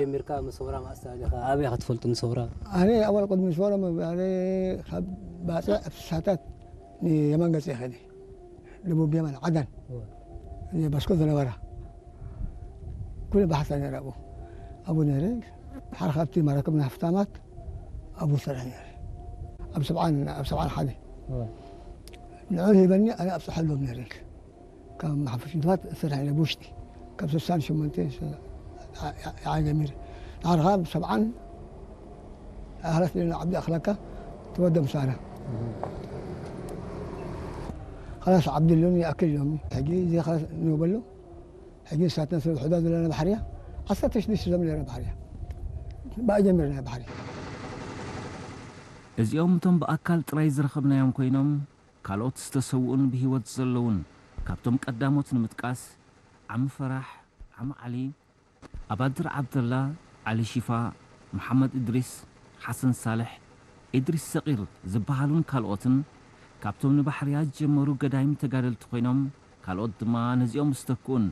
ጀሚርካ፣ መሰውራ ማእስታ ዲኻ? ኣበይ ኢኻ ትፈልጡ መሰውራ? ኣነ ኣወል ቅድሚ መሰውራ መባለ ካብ ባፅዕ ኣብ ስሳታት ንየማን ገፅ ይኸደ ደቡብ የማን ዓዳን ባስኮ ዝነበራ ኩሉ ባሕታ ነረ ኣብኡ ኣብኡ ነረ ሓደ ካብቲ መራክብ ናይ ሃፍታማት ኣብኡ ሰራሕ ነረ ኣብ ሰብዓን ኣብ ሰብዓን ሓደ ንዑ ሂበኒ ኣነ ኣብፅሓሎም ነረ ካብ መሓፈሽ ንትባት እሰርሕ ኢለ ብውሽጢ ካብ ስሳን ሸሞንተ ይዓ ጀሚረ ንዓርኻ ብሰብዓን ኣህላት ሌላ ዓብዲ ኣኽለካ ተወደ ምሳና خلاص ዓብዲ ሎሚ ይኣክል ኢሎም ሕጂ እዚ ኸላስ ንበሎ ሕጂ ንሳትና ስለ ውሕዳ ዘለና ባሕርያ ዓሰርተ ሽዱሽተ ዘም ነረ ባሕርያ ብኣ ጀሚርና ባሕሪ እዚኦም እቶም ብኣካል ጥራይ ዝረኸብናዮም ኮይኖም ካልኦት ዝተሰውኡን ብህይወት ዘለውን ካብቶም ቀዳሞት ንምጥቃስ ዓሚ ፈራሕ፣ ዓሚ ዓሊ፣ ኣባድር ዓብደላ፣ ዓሊ ሺፋ፣ መሓመድ እድሪስ፣ ሓሰን ሳልሕ፣ እድሪስ ሰቒር ዝበሃሉን ካልኦትን ካብቶም ንባሕርያ ዝጀመሩ ገዳይም ተጋደልቲ ኮይኖም ካልኦት ድማ ነዚኦም ዝተክኡን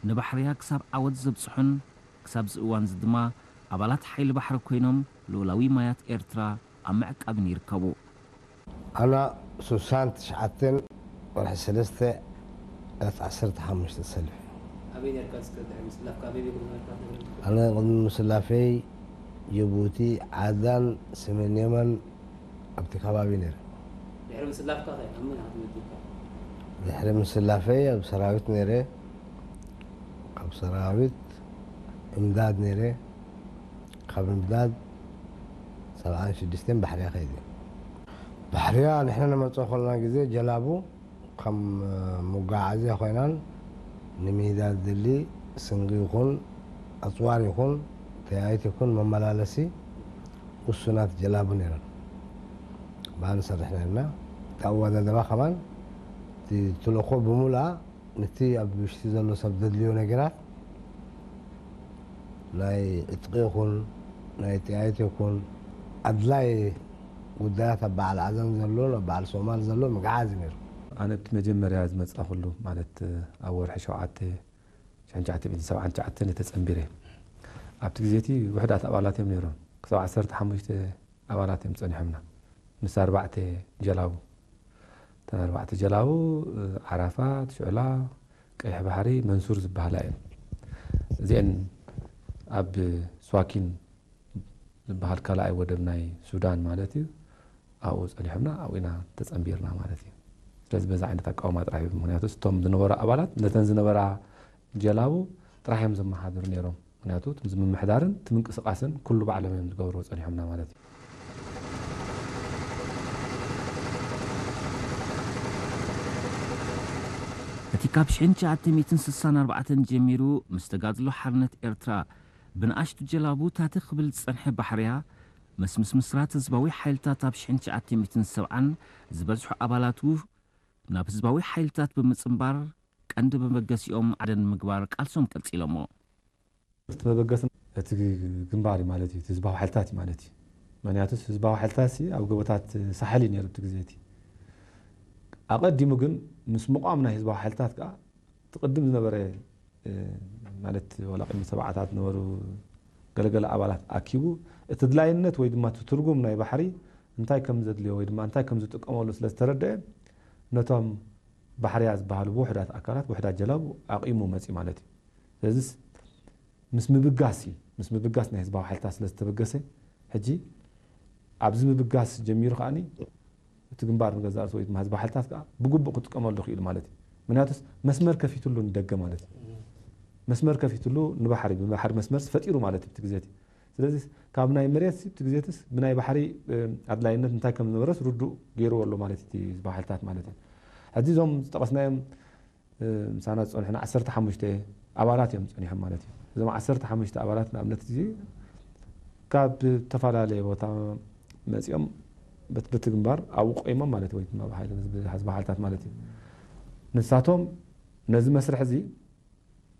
ንባሕርያ ክሳብ ዓወት ዘብጽሑን ክሳብዚ እዋንዚ ድማ ኣባላት ሓይሊ ባሕሪ ኮይኖም ልኡላዊ ማያት ኤርትራ ኣብ ምዕቃብን ይርከቡ። ኣና ሱሳን ትሽዓተን ወርሒ ሰለስተ ዕለት ዓሰርተ ሓሙሽተ ተሰሊፈ። ኣበይ ነርካ እስከ ድሕሪ ምስላፍካ ኣበይ ቤት ዝነበርካ ትነግረኒ? ኣነ ቅድሚ ምስላፈይ ጅቡቲ ዓዳን ሰሜን የመን ኣብቲ ከባቢ ነይረ። ድሕሪ ምስላፍካ ከ ኣብ መን ኢኻ ተመዲብካ? ድሕሪ ምስላፈይ ኣብ ሰራዊት ነይረ። ካብ ሰራዊት እምዳድ ነይረ። ካብ እምዳድ ሰብዓን ሽዱሽተን ባሕርያ ከይደ። ባሕርያ ንሕና ንመፅኦ ከለና ግዜ ጀላቡ ከም መጓዓዝያ ኮይናን ንሜዳ ዝድሊ ስንቂ ይኹን ኣፅዋር ይኹን ተያይት ይኹን መመላለሲ ውሱናት ጀላቡ ነይረን። ብኣ ንሰርሕ ነርና። እቲ ኣወዳድባ ከማን እቲ ትልእኾ ብምሉኣ ነቲ ኣብ ውሽጢ ዘሎ ሰብ ዘድልዮ ነገራት ናይ ዕጥቂ ይኹን ናይ ጥያይት ይኹን ኣድላይ ጉዳያት ኣብ በዓል ዓዘን ዘሎ ኣብ በዓል ሶማል ዘሎ ምግዓዝ እዩ ነይሩ። ኣነ እቲ መጀመርያ ዝመጻኹሉ ማለት ኣብ ወርሒ ሸውዓተ ሽሕን ትሽዓተ ሚእትን ሰብዓን ትሽዓተን እየ ተጸንቢረ። ኣብቲ ግዜ እቲ ውሕዳት ኣባላት እዮም ነይሮም። ክሳብ ዓሰርተ ሓሙሽተ ኣባላት እዮም ጸኒሖምና ምስ ኣርባዕተ ጀላቡ። እተን ኣርባዕተ ጀላቡ ዓራፋት፣ ሽዕላ፣ ቀይሕ ባሕሪ፣ መንሱር ዝበሃላ እየን። እዚአን ኣብ ስዋኪን ዝበሃል ካልኣይ ወደብ ናይ ሱዳን ማለት እዩ ኣብኡ ጸኒሖምና ኣብኡ ኢና ተጸንቢርና ማለት እዩ። ስለዚ በዚ ዓይነት ኣቃውማ ጥራሕ እዩ። ምክንያቱ እቶም ዝነበሩ ኣባላት ነተን ዝነበራ ጀላቡ ጥራሕ እዮም ዘመሓድሩ ነይሮም። ምክንያቱ እዚ ምምሕዳርን እቲ ምንቅስቃስን ኩሉ ባዕሎም እዮም ዝገብርዎ ጸኒሖምና ማለት እዩ። እቲ ካብ ሽሕን ትሽዓተ ሚእትን ስሳን ኣርባዕተን ጀሚሩ ምስ ተጋድሎ ሓርነት ኤርትራ ብንኣሽቱ ጀላቡ ታተ ክብል ዝጸንሐ ባሕርያ፣ ምስ ምስምስራት ህዝባዊ ሓይልታት ኣብ ሽሕን ትሽዓተ ሚእትን ሰብዓን ዝበዝሑ ኣባላቱ ናብ ህዝባዊ ሓይልታት ብምጽንባር ቀንዲ መበገሲኦም ዓደን ንምግባር ቃልሶም ቀጺሎሞ። እቲ መበገሲ እቲ ግንባር እዩ ማለት እዩ፣ እቲ ህዝባዊ ሓይልታት እዩ ማለት እዩ። ምክንያቱስ ህዝባዊ ሓይልታት ሲ ኣብ ጎቦታት ሳሕል እዩ ነይሩ እቲ ግዜ እቲ። ኣቐዲሙ ግን ምስ ምቋም ናይ ህዝባዊ ሓይልታት ከዓ እቲ ቅድም ዝነበረ ማለት ዋላ ቅድሚ ሰብዓታት ዝነበሩ ገለገለ ኣባላት ኣኪቡ እቲ ድላይነት ወይ ድማ እቲ ትርጉም ናይ ባሕሪ እንታይ ከም ዘድልዮ ወይ ድማ እንታይ ከም ዝጥቀመሉ ስለ ዝተረደአ ነቶም ባሕርያ ዝበሃሉ ብውሕዳት ኣካላት ውሕዳት ጀላቡ ኣቂሙ መፂ ማለት እዩ። ስለዚስ ምስ ምብጋስ እዩ። ምስ ምብጋስ ናይ ህዝባዊ ሓይልታት ስለ ዝተበገሰ ሕጂ ኣብዚ ምብጋስ ጀሚሩ ከዓኒ እቲ ግንባር ንገዛእ ርእሱ ወይ ድማ ህዝባዊ ሓይልታት ከዓ ብግቡእ ክጥቀመሉ ክኢሉ ማለት እዩ። ምክንያቱስ መስመር ከፊትሉ ንደገ ማለት እዩ። መስመር ከፊትሉ ንባሕሪ ብባሕሪ መስመርስ ፈጢሩ ማለት እዩ እቲ ግዜ እቲ። ስለዚ ካብ ናይ መሬት እቲ ግዜትስ ብናይ ባሕሪ ኣድላይነት እንታይ ከም ዝነበረስ ርዱእ ገይርዎ ኣሎ ማለት እቲ ህዝባዊ ሓይልታት ማለት እዩ። ሕዚ እዞም ዝጠቐስናዮም ምሳና ዝፀንሑና ዓሰርተ ሓሙሽተ ኣባላት እዮም ፀኒሖም ማለት እዩ። እዞም ዓሰርተ ሓሙሽተ ኣባላት ንኣብነት እዚ ካብ ዝተፈላለየ ቦታ መፂኦም በቲ በቲ ግንባር ኣብኡ ቆይሞም ማለት ወይ ድማ ብሓይሊ ህዝቢ ሓይልታት ማለት እዩ። ንሳቶም ነዚ መስርሕ እዚ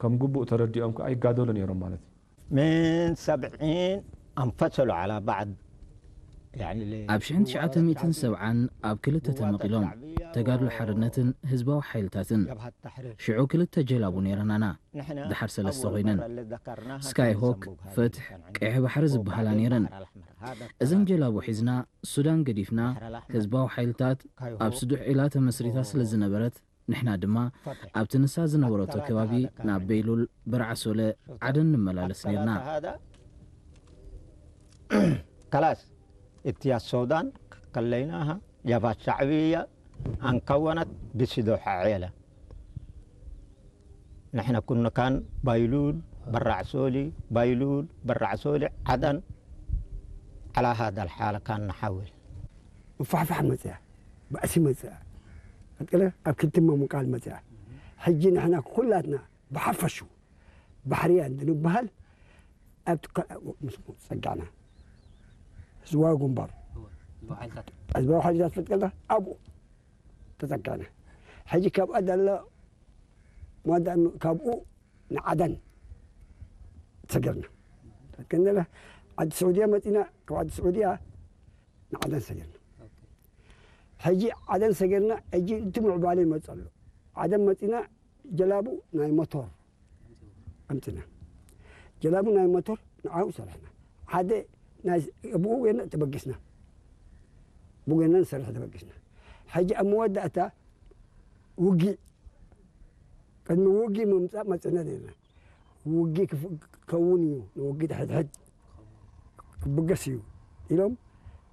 ከም ግቡእ ተረዲኦም ከዓ ይጋደሉ ነይሮም ማለት እዩ። من سبعين انفصلوا على بعض ኣብ ሽሕን ትሽዓተ ሚእትን ሰብዓን ኣብ ክልተ ተመቒሎም፣ ተጋድሎ ሓርነትን ህዝባዊ ሓይልታትን። ሽዑ ክልተ ጀላቡ ነይረናና፣ ድሓር ሰለስተ ኮይነን። ስካይ ሆክ፣ ፈትሕ፣ ቀይሕ ባሕሪ ዝበሃላ ነይረን። እዘን ጀላቡ ሒዝና ሱዳን ገዲፍና፣ ህዝባዊ ሓይልታት ኣብ ስዱሕ ዒላ ተመስሪታ ስለ ዝነበረት፣ ንሕና ድማ ኣብቲ ንሳ ዝነበረቶ ከባቢ ናብ በይሉል፣ በርዓሶለ፣ ዓደን ንመላለስ ነይርና። ከላስ እትያ ሶዳን ከለይናሃ ጀብሃት ሻዕብያ ኣንከወነት ብስዶ ሐዔለ ንሕነ ኩንካን ባይሉል በራዕ ሶሊ ባይሉል በራዕ ሶሊ ዓደን على هذا الحال كان نحاول ምፋሕፋሕ መፅያ፣ ባእሲ መፅያ፣ ቀጥለ ኣብ ክልተ ምምቃል መፅያ። ሕጂ ንሕና ኩላትና ብሓፈሹ ባሕርያ እንትንበሃል ኣብቲ ከ- ምስ ፀጋዕና ህዝባዊ ግንባር ህዝባዊ ሓይልታት ፈጥቀልና ኣብኡ ተፀጋዕና። ሕጂ ካብኣ ዳላ ማዳ ካብኡ ንዓደን ሰገርና። ከንደለ ዓዲ ስዑድያ መፂና፣ ካብ ዓዲ ስዑድያ ንዓደን ሰገርና። ሕጂ ዓደን ሰገርና፣ ሕጂ እቲ ምዕባለ ይመፅ ኣሎ። ዓደን መፂና፣ ጀላቡ ናይ ሞቶር ኣምፅና። ጀላቡ ናይ ሞቶር ንዓኡ ሰራሕና። ሓደ ናይ ብኡ ጌርና ተበጊስና። ብኡ ጌርና ንሰርሕ ተበጊስና። ሕጂ ኣብ መወዳእታ ውጊእ፣ ቅድሚ ውጊእ ምምፃእ መፅና ኔርና። ውጊእ ክፍ- ክኸውን እዩ፣ ንውጊእ ድሕድሕድ ክብገስ እዩ ኢሎም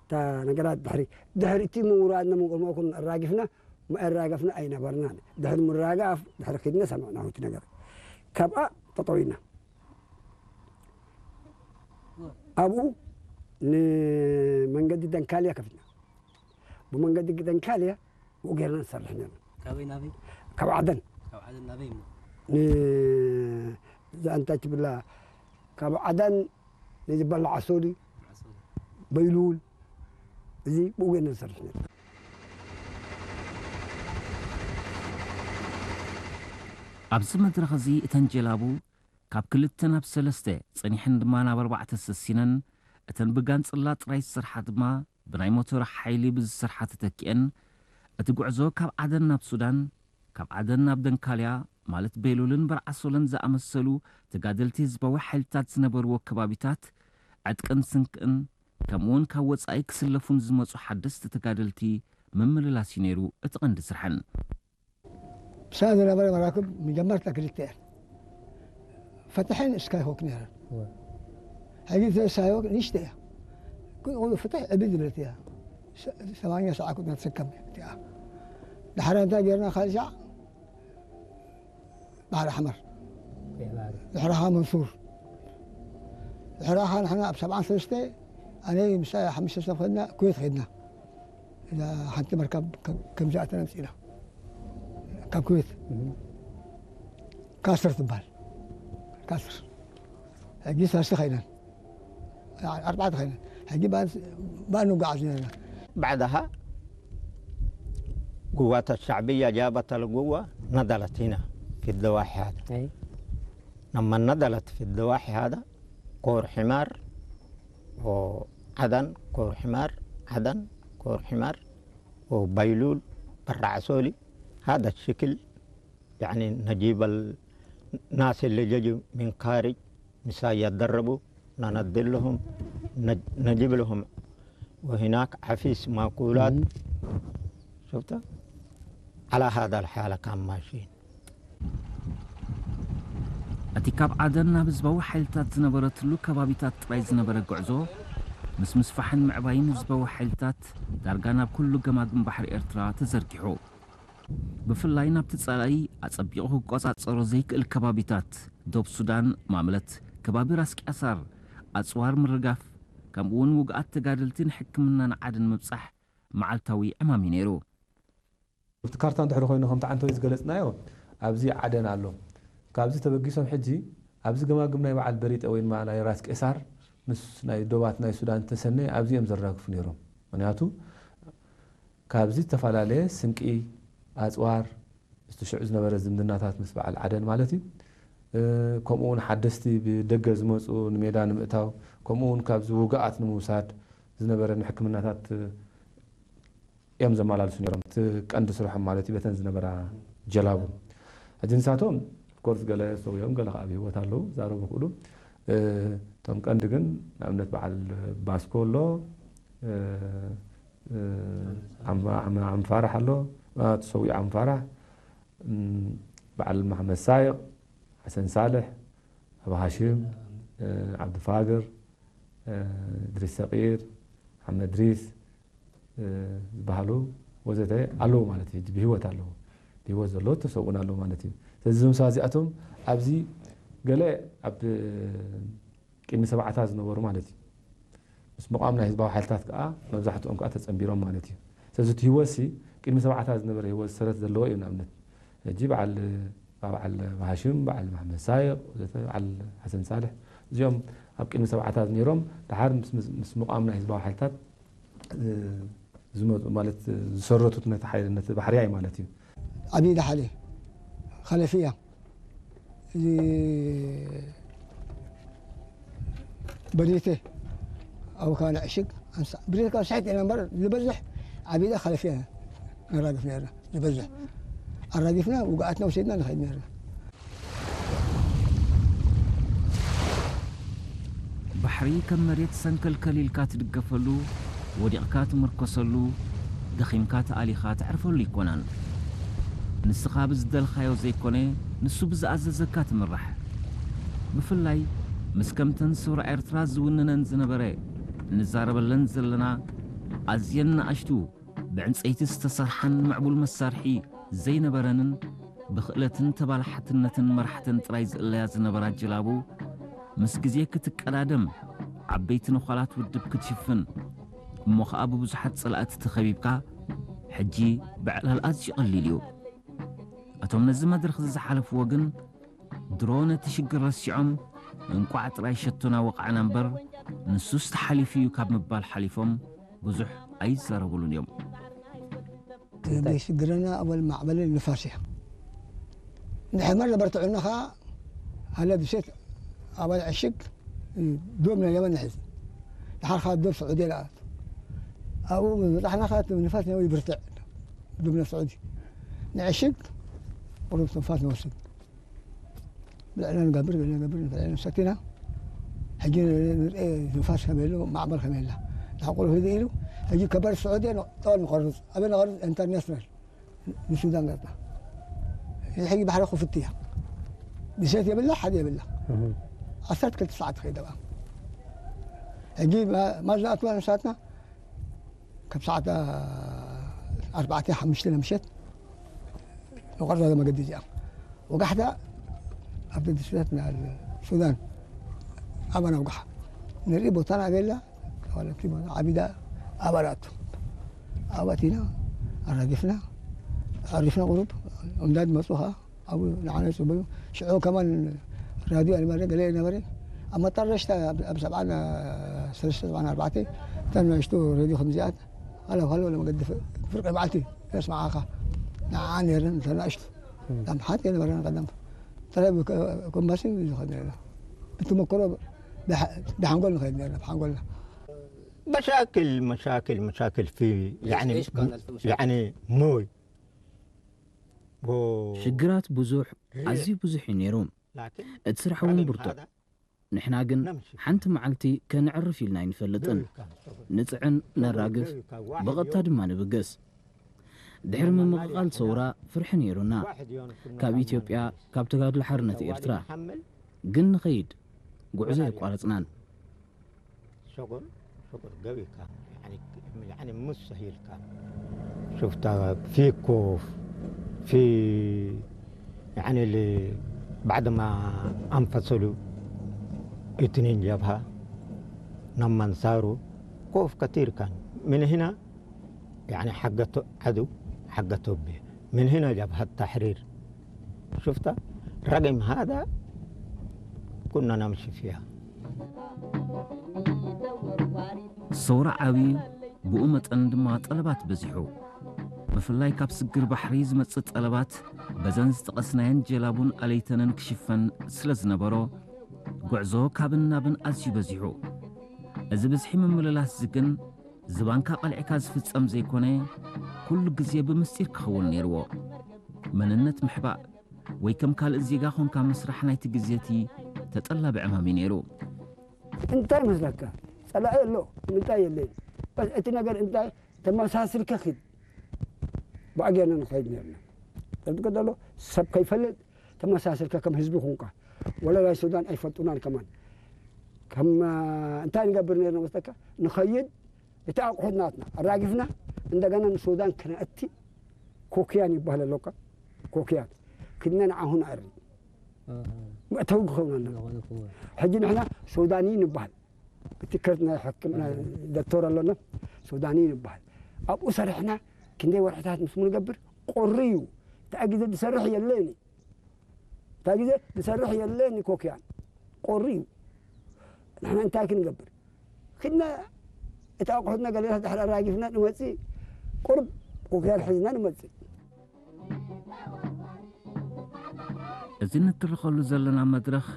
እታ ነገራት ድሕሪ ድሕሪ እቲ ምውራድና ምንቅልሞ ኩን ኣራጊፍና መኣራገፍና ኣይነበርናን። ድሕሪ ምራጋፍ ድሕሪ ኪድና ሰማዕናሁ እቲ ነገር። ካብኣ ጠጠው ኢልና። ኣብኡ ንመንገዲ ደንካልያ ከፊትና። ብመንገዲ ደንካልያ ብኡ ጌርና ንሰርሕ ነርና። ካበይ ናበይ? ካብ ዓደን። ካብ ዓደን ናበይ እሞ? ንዛ እንታይ ትብላ፣ ካብ ዓደን ንዝበላዓ ሶሊ፣ በይሉል፣ እዚ ብኡ ጌርና ንሰርሕ ነርና። ኣብዚ መድረኽ እዚ እተን ጀላቡ ካብ ክልተ ናብ ሰለስተ ጸኒሐን ድማ ናብ ኣርባዕተ ሰሲነን፣ እተን ብጋንጽላ ጥራይ ዝሰርሓ ድማ ብናይ ሞተር ሓይሊ ብዝሰርሓ ተተኪኤን፣ እቲ ጉዕዞ ካብ ዓደን ናብ ሱዳን፣ ካብ ዓደን ናብ ደንካልያ ማለት ቤሉልን በርዓሶለን ዝኣመሰሉ ተጋደልቲ ህዝባዊ ሓይልታት ዝነበርዎ ከባቢታት ዕጥቅን ስንቅን ከምኡውን ካብ ወጻኢ ክስለፉ ንዝመጹ ሓደስቲ ተጋደልቲ ምምልላስ እዩ ነይሩ እቲ ቀንዲ ስርሐን። ብሰንዓ ዝነበረ መራክብ መጀመርታ ክልተ እየን። ፈትሕን ስካይሆክ ነይረን። ሕጂ እቲ ስካይሆክ ንእሽተ እያ። ግን እውን ፍትሕ ዕብይ ዝበለት እያ። ሰማንያ ሰዓ ኩትና ትስከም እቲኣ። ድሓር እንታይ ጌርና ካልእ ሻዕ ባሕሪ ኣሕመር። ድሕሪ ኸዓ መንሱር። ድሕሪ ኸዓ ንሕና ኣብ ሰብዓን ሰለስተ ኣነ ምሳይ ሓሙሽተ ሰብ ኸድና ኩዌት ኸድና። እዛ ሓንቲ መርከብ ከም- ከም ዝኣተና ኣምፂእና። ካብ ኩዌት ካስር ትበሃል። ካስር። ሕጂ ሰለስተ ኸይነን። ኣርባዕተ ኸይነን። ሕጂ ብኣ ንጓዓዝ ነርና። بعدها قوات الشعبية جابت القوة نزلت هنا في الضواحي هذا. لما نزلت في الضواحي هذا كور حمار وعدن كور حمار عدن كور حمار وبيلول برع سولي هذا الشكل يعني نجيب الناس اللي ججوا من خارج مسايا يتدربوا ننزل لهم نج- نجيب لهم وهناك عفيس ماكولات شفت على هذا الحالة كان ماشيين እቲ ካብ ዓደን ናብ ህዝባዊ ሓይልታት ዝነበረትሉ ከባቢታት ጥራይ ዝነበረ ጉዕዞ ምስ ምስፋሕን ምዕባይን ህዝባዊ ሓይልታት ዳርጋ ናብ ኩሉ ገማግም ባሕሪ ኤርትራ ተዘርጊሑ። ብፍላይ ናብቲ ጸላኢ ኣጸቢቑ ክቆጻጸሮ ዘይክእል ከባቢታት ዶብ ሱዳን ማምለት ከባቢ ራስ ቅያሳር ኣጽዋር ምርጋፍ ከምኡውን ውግኣት ተጋደልቲ ንሕክምናን ዓድን ምብጻሕ መዓልታዊ ዕማም እዩ ነይሩ። ኣብቲ ካርታ እንድሕሪ ኮይኑ ከምቲ ዓንተወይ ዝገለፅናዮ ኣብዚ ዓደን ኣሎ። ካብዚ ተበጊሶም ሕጂ ኣብዚ ገማግም ናይ በዓል በሪጠ ወይ ድማ ናይ ራስ ቄሳር ምስ ናይ ዶባት ናይ ሱዳን ተሰነየ ኣብዚ እዮም ዘራግፉ ነይሮም። ምክንያቱ ካብዚ ዝተፈላለየ ስንቂ፣ ኣፅዋር፣ ምስቲ ሽዑ ዝነበረ ዝምድናታት ምስ በዓል ዓደን ማለት እዩ። ከምኡ እውን ሓደስቲ ብደገ ዝመፁ ንሜዳ ንምእታው፣ ከምኡ እውን ካብዚ ውግኣት ንምውሳድ፣ ዝነበረ ንሕክምናታት እዮም ዘመላልሱ ነይሮም። እቲ ቀንዲ ስርሖም ማለት እዩ በተን ዝነበራ ጀላቡ። ሕጂ ንሳቶም ኦፍኮርስ ገለ ሰውዮም ገለ ከዓ ኣብ ህይወት ኣለዉ ዛረቡ ክእሉ። እቶም ቀንዲ ግን ንኣብነት በዓል ባስኮ ኣሎ፣ ዓምፋራሕ ኣሎ፣ ተሰዊኡ ዓምፋራሕ፣ በዓል መሓመድ ሳይቕ፣ ሓሰን ሳልሕ፣ ኣቡ ሃሽም፣ ዓብዲ ፋግር፣ ድሪስ ሰቂር፣ ሓመድ ድሪስ ዝበሃሉ ወዘተ ኣለዉ ማለት እዩ። ብህይወት ኣለዉ። ብህይወት ዘለዉ ተሰውኡን ኣለዉ ማለት እዩ። ስለዚ እዞም ሰባት እዚኣቶም ኣብዚ ገለ ኣብ ቅድሚ ሰብዓታት ዝነበሩ ማለት እዩ። ምስ ምቋም ናይ ህዝባዊ ሓይልታት ከዓ መብዛሕትኦም ከዓ ተጸንቢሮም ማለት እዩ። ስለዚ እቲ ህይወትሲ ቅድሚ ሰብዓታት ዝነበረ ህይወት ሰረት ዘለዎ እዩ። ንኣብነት ሕጂ በዓል በዓል ሃሽም፣ በዓል መሓመድ ሳይቕ ወዘተ፣ በዓል ሓሰን ሳልሕ እዚኦም ኣብ ቅድሚ ሰብዓታት ነይሮም። ድሓር ምስ ምቋም ናይ ህዝባዊ ሓይልታት ዝመፁ ማለት ዝሰረቱት ነቲ ሓይሊ ነቲ ባሕርያይ ማለት እዩ። ዓብዪ ዳሓሌ፣ ኸለፍያ፣ እዚ በዲቴ፣ ኣብ ካና ዕሽግ፣ ብሬት ካብ ስሕት ኢና እምበር ዝበዝሕ ዓብይዳ ኸለፍያ ነራግፍ ነርና። ዝበዝሕ ኣራጊፍና ውግኣትና ወሲድና ንኸይድ ነርና። ባሕሪ ከም መሬት ሰንከልከል ኢልካ ትድገፈሉ፣ ወዲቕካ ትምርኮሰሉ፣ ደኺምካ ተኣሊኻ ተዕርፈሉ ኣይኮነን። ንስኻ ብዝደልኻዮ ዘይኮነ፣ ንሱ ብዝኣዘዘካ ትምራሕ። ብፍላይ ምስ ከምተን ሰውራ ኤርትራ ዝውንነን ዝነበረ እንዛረበለን ዘለና ኣዝየን ንኣሽቱ ብዕንጸይቲ ዝተሰርሓን ምዕቡል መሳርሒ ዘይነበረንን ብኽእለትን ተባላሓትነትን መራሕተን ጥራይ ዝእለያ ዝነበራ ጀላቡ፣ ምስ ግዜ ክትቀዳደም፣ ዓበይቲ ነዃላት ውድብ ክትሽፍን፣ እሞ ኸኣ ብብዙሓት ጸላእቲ ተኸቢብካ፣ ሕጂ ብዕላል ኣዝዩ ቀሊል እዩ። እቶም ነዚ መድረኽ እዚ ዝሓለፍዎ ግን፣ ድሮ ነቲ ሽግር ረሲዖም፣ እንቋዕ ጥራይ ሸቶና ወቓዕና እምበር፣ ንሱስ ተሓሊፉ እዩ ካብ ምባል ሓሊፎም ብዙሕ ኣይዛረቡሉን እዮም። ዘይሽግረና ኣበል ማዕበልን ንፋስ እያ። ንሕመር ነበርትዑና ኸዓ ሃለ ብሴት ኣባል ዕሽግ ዶብ ናይ የመን ንሕዝ። ድሓር ኸዓ ዶብ ስዑዲ ለኣት። ኣብኡ ምስ በጻሕና ኸዓ እቲ ንፋስ ናይ ይብርትዕ። ዶብ ናይ ስዑዲ ንዕሽግ ቁሩብ ትንፋስ ንወስድ። ብልዕና ንገብር ገለ ንገብር ንፈልዐ ንሰቲና ሕጂ ንርኢ ንፋስ ከመይ ኣሎ ማዕበል ከመይ ኣላ ንሕቁሩ ህድእ ኢሉ ሕጂ ከበር ስዑድያ ጠወል ንቆርፅ ኣበይ ንቆርፅ ኢንተርናሽናል ንሱዳን ገፅና እዚ ሕጂ ባሕሪ ክፍት እያ ብሴት የብላ ሓደ የብላ ዓሰርተ ክልተ ሰዓት ትኸይድ ኣብኣ ሕጂ ማል ዝኣትዋ ንሳትና ካብ ሰዓት ኣርባዕተ ሓሙሽተ ምሸት ንቆርዛ መገዲ እዚኣ ወጋሕታ ኣብ ደድስታት ሱዳን ኣባና ውጋሕ ንርኢ ቦታና ኣበላ ዓቢዳ ኣባላቱ ኣባቲና ኣራጊፍና ኣሪፍና ቁሩብ እንዳድ መፁ ከዓ ኣብኡ ንዓና ይፅበዩ ሽዑ ከማን ራድዮ ኣልማረ ገለ ነበረ ኣብ መጣረሽታ ኣብ ሰብዓን ሰለስተ ሰብዓን ኣርባዕተ እተን ንእሽቱ ሬድዮ ከምዚኣት ሃሎ ሃሎ ለመገዲ ፍርቂ መዓልቲ የስምዓኻ ንዓ ነረን እተን ንእሽቱ ዳም ሓት የነበረን ቀደም ተለብ ኮምባስን ዝኸድ ነርና ብተመክሮ ብሓንጎል ንኸድ ነርና ብሓንጎልና مشاكل مشاكل مشاكل في يعني يعني موي ሽግራት ብዙሕ ኣዝዩ ብዙሕ እዩ ነይሩ እቲ ስራሕ እውን ብርቱዕ ንሕና ግን ሓንቲ መዓልቲ ከነዕርፍ ኢልና ኣይንፈልጥን ንፅዕን ነራግፍ ብቐጥታ ድማ ንብገስ ድሕሪ ምምቕቓል ሰውራ ፍርሒ ነይሩና ካብ ኢትዮጵያ ካብ ተጋድሎ ሓርነት ኤርትራ ግን ንኸይድ ጉዕዞ የቋረፅናን شغل شغل قوي كان يعني يعني مستحيل كان شفتها في كوف في يعني اللي بعد ما انفصلوا اثنين جبهة لما انصاروا كوف كثير كان من هنا يعني حقته عدو حقته به من هنا جبهة تحرير شفت رقم هذا كنا نمشي فيها ሰውራ ዓብዩ ብኡ መጠን ድማ ጠለባት በዚሑ ብፍላይ ካብ ስግር ባሕሪ ዝመጽእ ጠለባት በዘን ዝጠቐስናየን ጀላቡን ኣለይተንን ክሽፈን ስለ ዝነበሮ ጉዕዞ ካብን ናብን ኣዝዩ በዚሑ እዚ ብዝሒ ምምልላስ እዚ ግን ዝባንካ ቀልዕካ ዝፍጸም ዘይኮነ፣ ኩሉ ግዜ ብምስጢር ክኸውን ነይርዎ። መንነት ምሕባእ ወይ ከም ካልእ ዜጋ ኾንካ ምስራሕ ናይቲ ግዜ እቲ ተጠላቢ ዕማም እዩ ነይሩ። እንታይ መስለካ? ጸላኢ ኣሎ፣ ምንታይ የለን። በስ እቲ ነገር እንታይ ተመሳስልካ ኺድ። ብኣገና ንኸይድ ነርና። ተዝቀደሎ ሰብ ከይፈልጥ ተመሳስልካ ከም ህዝቢ ኹንካ። ወላ ናይ ሱዳን ኣይፈልጡናን ከማን። ከም እንታይ ንገብር ነርና መስለካ? ንኸይድ እቲ ኣቑሑት ናትና ኣራጊፍና እንደገና ንሱዳን ክነእቲ ኮክያን ይባሃል ኣሎካ። ኮክያን ክድና ንዓኹ ንኣሪ መእተዊ ክኸውን ኣለና። ሕጂ ንሕና ሱዳኒ ንበሃል። እቲ ከርት ናይ ሕክምና ዶክተር ኣሎና ሱዳኒ ንበሃል። ኣብኡ ሰሪሕና ክንደይ ወርሕታት ምስ ንገብር ቁሪ እዩ። እታ ግዜ ዝሰርሕ የለኒ። እታ ግዜ ዝሰርሕ የለኒ ኮክያን ቁሪ እዩ። ንሕና እንታይ ክንገብር? ክድና እቲ ኣቑሑትና ገለታት ድሕሪ ኣራጊፍና ንመጽእ ቁርብ ኮክያን ሒዝና ንመጽእ። እዚ ንትርኸሉ ዘለና መድረኽ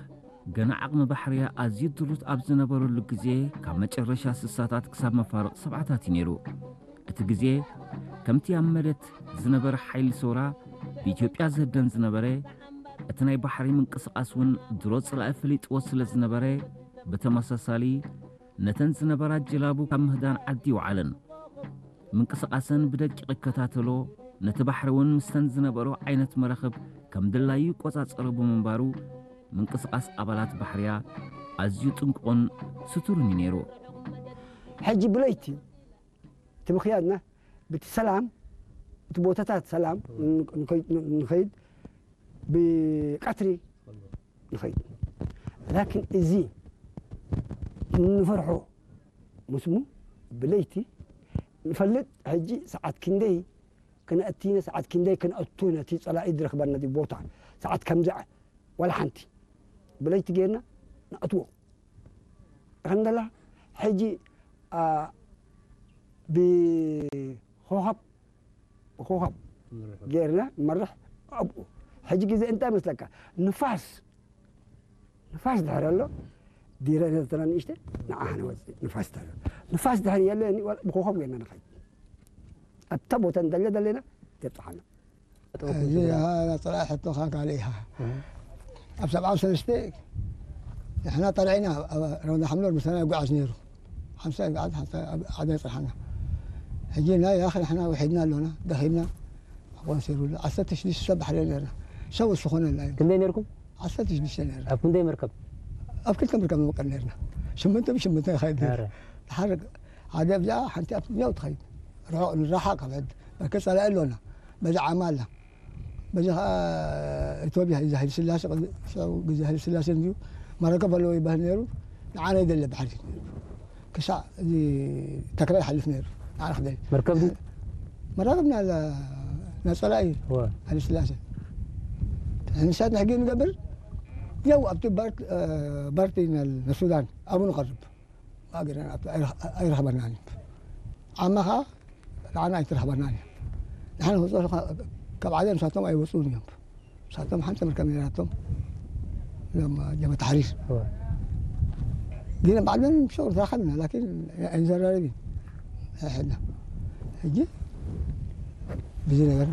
ገና ዓቕሚ ባሕርያ ኣዝዩ ድሩት ኣብ ዝነበረሉ ግዜ ካብ መጨረሻ ስሳታት ክሳብ መፋርቕ ሰብዓታት እዩ ነይሩ። እቲ ግዜ ከምቲ ኣብ መሬት ዝነበረ ሓይሊ ሰውራ ብኢትዮጵያ ዝህደን ዝነበረ እቲ ናይ ባሕሪ ምንቅስቓስ እውን ድሮ ጽላኢ ፈሊጥዎ ስለ ዝነበረ ብተመሳሳሊ ነተን ዝነበራ ጀላቡ ካብ ምህዳን ዓዲ ይውዓለን። ምንቅስቓሰን ብደቂቕ ይከታተሎ፣ ነቲ ባሕሪ እውን ምስተን ዝነበሮ ዓይነት መራኽብ ከም ድላዩ ይቆጻጸሮ ብምንባሩ ምንቅስቓስ ኣባላት ባሕርያ ኣዝዩ ጥንቁቕን ስቱርን እዩ ነይሩ። ሕጂ ብለይቲ እቲ ምኽያድና ብቲ ሰላም እቲ ቦታታት ሰላም ንኸይድ ብቀትሪ ንኸይድ ላኪን እዚ ንፈርሖ ምስሙ ብለይቲ ንፈልጥ ሕጂ ሰዓት ክንደይ ክነእቲነ ሰዓት ክንደይ ክነእቱ ነቲ ጸላኢ ዝረኽበና ቦታ ሰዓት ከምዚ ዋላ ሓንቲ ብለይቲ ጌርና ንኣትዎ ከንደላ ሕጂ ብኮኸብ ብኮኸብ ጌርና መርሕ ኣብኡ ሕጂ ግዜ እንታይ መስለካ ንፋስ ንፋስ ድሕር ኣሎ ዲረ ነተና ንእሽተ ንዓ ንወፅእ ንፋስ ድሕር ንፋስ ድሕር የለ ብኮኸብ ጌርና ንኸይድ ኣብታ ቦታ እንደለ ደለና ተብፅሓና እዚ ጥራይ ሕቶኻ ካልእ ኢኻ ኣብ ሰብዓ ሰለስተ ንሕና ጠርዒና ረመዳ ሓምሎር ምሳና ይጓዓዝ ነይሩ ሓምሳ ይጓዓዝ ሓደ ይፅርሓና ሕጂ ናይ ያኽ ንሕና ውሒድና ኣሎና ደኺምና ኣቆንሲሩሉ ዓሰርተ ሽዱሽተ ሰብ ባሕሪ ነርና ሰብ ዝኾነና እዩ ክንደይ ነርኩም ዓሰርተ ሽዱሽተ ነርና ኣብ ክንደይ መርከብ ኣብ ክልተ መርከብ ንወቀል ነርና ሽምንተ ብሽምንተ ይኸይድ ነር ተሓርቅ ሓደ ኣብዚኣ ሓንቲ ኣብ ትኛው ትኸይድ ርሑቕ ንራሓቕ ካብ ሕድ መርከብ ጸላኢ ኣሎና በዚ ዓማ ኣላ በዚ ከዓ ኢትዮጵያ እዚ ሃይለ ስላሴ ሽዑ ግዜ ሃይለ ስላሴ እንድዩ መረከብ ኣለዎ ይበሃል ነይሩ ንዓና ይደለ ባሕሪ ክሳዕ እዚ ተክላይ ሓልፍ ነይሩ ንዓና ክደል መርከብ ድዩ መራከብ ናላ ናፀላኢ እወ ሃይለ ስላሴ ንሳት ንሕጊ ንገብር ያው ኣብቲ ባርት ባርቲ ንሱዳን ኣብኡ ንቐርብ ማእገርና ኣይረኽበናን እዩ ዓማ ከዓ ንዓና ኣይትረኽበናን እዩ ንሓን ክወፅኦ ካብ ዓለም ንሳቶም ኣይወፅኡን እዮም ንሳቶም ሓንቲ መርከብ ነራቶም ሎም ጀመ ተሕሪር ግን ባዕለን ሸው ተራኸብና ላኪን ኣይንዘራረብ ሕና ሕጂ ብዚ ነገር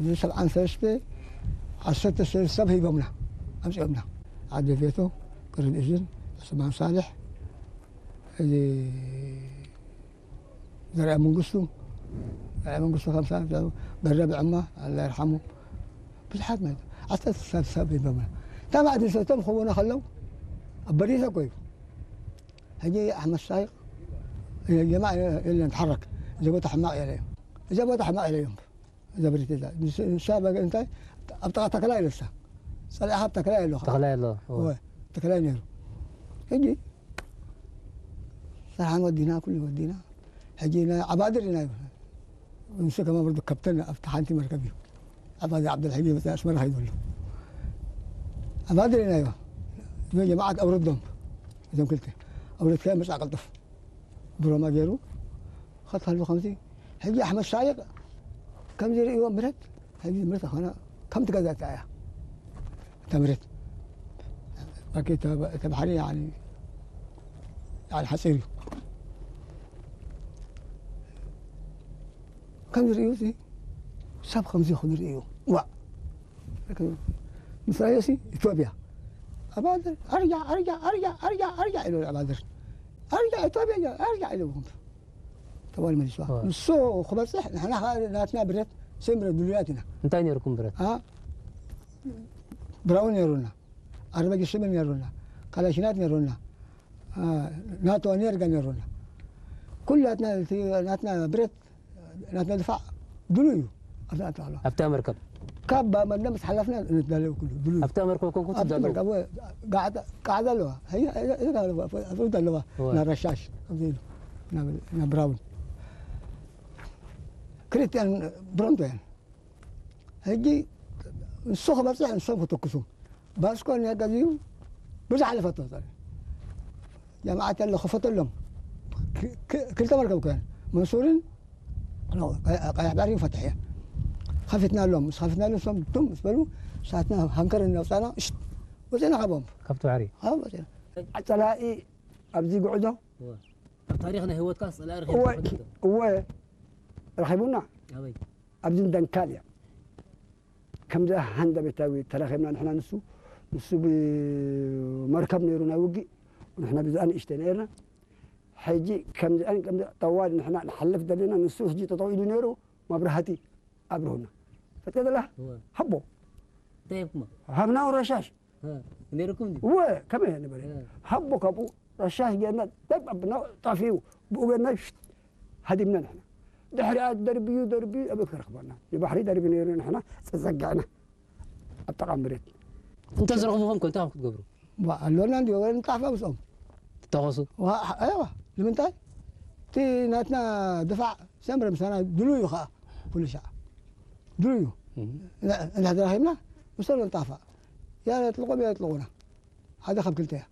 እዚ ሰብዓን ሰለስተ ዓሰርተ ሰለስተ ሰብ ሂቦምና ኣምፂኦምና ዓዲ ቤቶ ቅርብ እዝን ዑስማን ሳልሕ እዚ ዘርኣ መንግስቱ ዘርኣ መንግስቱ ከምሳ ገረብ ዕማ ኣላ ይርሓሙ ብዙሓት ማለት ዓሰርተ ሰብ ሰብ ይበምና ታማዕቲ ሰቶም ክቡና ከለው ኣብ በሪሰ ኮዩ ሕጂ ኣሕመድ ሳይቅ የማ የለን ተሓረክ እዚ ቦታ ሕማቅ የለ እዩ እዚ ቦታ ሕማቅ የለ እዮም ዘብሪት እዛ ንሳ በገ እንታይ ኣብ ጥቓ ተክላይ ኣለሳ ጸላኢኻ ኣብ ተክላይ ኣለኻ ተኽላይ ኣሎ እወ። እወ ተክላይ ነይሩ ሕጂ ስራሕን ወዲና ኩሉ ወዲና ሕጂ ናይ ዓባድር ኢና ንሱ ከማ ብርዱ ከብተን ኣብቲ ሓንቲ መርከብ እዩ ዓባድር ዓብደልሕጂ መፅእ ኣስመራ ከይዱ ኣሎ ዓባድር ኢና ዮ ጀማዓት ኣውረዶም እዞም ክልተ ኣውረድካ መፅእ ቀልጥፍ ብሮማ ገይሩ ኸትሃሉ ከምዚ ሕጂ ኣሕመድ ሳይቅ ከምዚ ርእይዎ ምረት ሕጂ ምረት ኾነ ከም ትገዛእታ እያ እታ ምረት ባኬት ተባሕሪ ሓፂር እዩ ከምዚ ርእዩ እዚ ሰብ ከምዚ ክብል ርእዩ። ዋ ምስ ረኣዮሲ ኢትዮጵያ ኣባድር ኣርያ ኣርያ ኣርያ ኣርያ ኣርያ ኢሉ ኣባድር ኣርያ ኢትዮጵያ ኣርያ ኢሉ ተባል መሊስዋ። ንሱ ክበፅሕ ንሕና ከዓ ናትና ብረት ሰምረ ድሉያት ኢና። እንታይ ነርኩም ብረት? ብራውን ነሩና፣ ኣርበጊ ሽምን ነሩና፣ ካላሽናት ነሩና፣ ናቶ ኔርጋ ነሩና። ኩላትና ናትና ብረት ናትና ድፋዕ ድሉ እዩ። ኣብታ መርከብ ካብ ባመና ምስ ሓላፍና ንዳለው ኩሉ ድሉ እዩ። ኣብታ መርከብ ኮንኩ ትዳለው? ቃዕዳ ኣለዋ ኣለዋ ናረሻሽ ናብ ብራውን ክልቲኣን ብረንቶ እየን። ሕጂ ንሱ ክበፅሕ ንሶም ክተኩሱ ባስኮ ነጋዚዩ ብዙሕ ኣለፈቶ ጀማዓት ያለ ክፈተሎም ክልተ መርከብ ኮይን መንሱርን ቀያሕ ባሕሪ ፈትሕ እየ። ከፊትና ኣሎም ምስ ከፊትና ኣሎም ሶም ቱም ምስ በሉ ሳትና ሃንከር እናውፃና ሽት ወፅና ካቦም ካብቲ ባሕሪ። ፀላኢ ኣብዚ ጉዕዞ ኣብ ታሪክ ናይ ህይወትካ ፀላኢ ረኺብካ ትፈልጥ ዶ? እወ ረኺቡና ኣበይ? ኣብዚ ደንካል እያ። ከምዚ ሃንደበታዊ ተረኺብና ንሕና ንሱ ንሱ ብመርከብ ነይሩ ናይ ውግእ ንሕና ብዛኣ ንእሽተይ ነርና። ሕጂ ከምዚኣን ከምዚ ጠዋል ንሕና ንሓልፍ ዘለና ንሱ ሕጂ ጠጠው ኢሉ ነይሩ መብራህቲ ኣብርሁና ፈትከ ዘላ እወ። ሃቦ እንታይ ሂብኩማ? ሃብና ረሻሽ ነይርኩም ድዩ? እወ ከመይ ንበለ ሃቦ ካብኡ ረሻሽ ጌርና ደብ ኣብና ጣፊኡ ብኡ ጌርና ሽት ሃዲምና ንሕና ድሕሪኣ ደርብዩ ደርብዩ ኣበይ ክረኽበና ንባሕሪ ደርቢ ነይሩ ንሕና ጸጸጋዕና ኣብ ጠቓ መሬት እንተ ዝረኽብኹም ከ እንታይ ክትገብሩ ኣለና እንዲ ንጣፋ ምስኦም ትተኸሱ ኣይዋ ንምንታይ እቲ ናትና ድፋዕ ሰምረ ምሳና ድሉ እዩ ከዓ ድሉ እዩ እንዳ ተራኺብና ምስኦም ንጣፋ ያጥልቆም ያጥልቁና ሓደ ካብ ክልተ እያ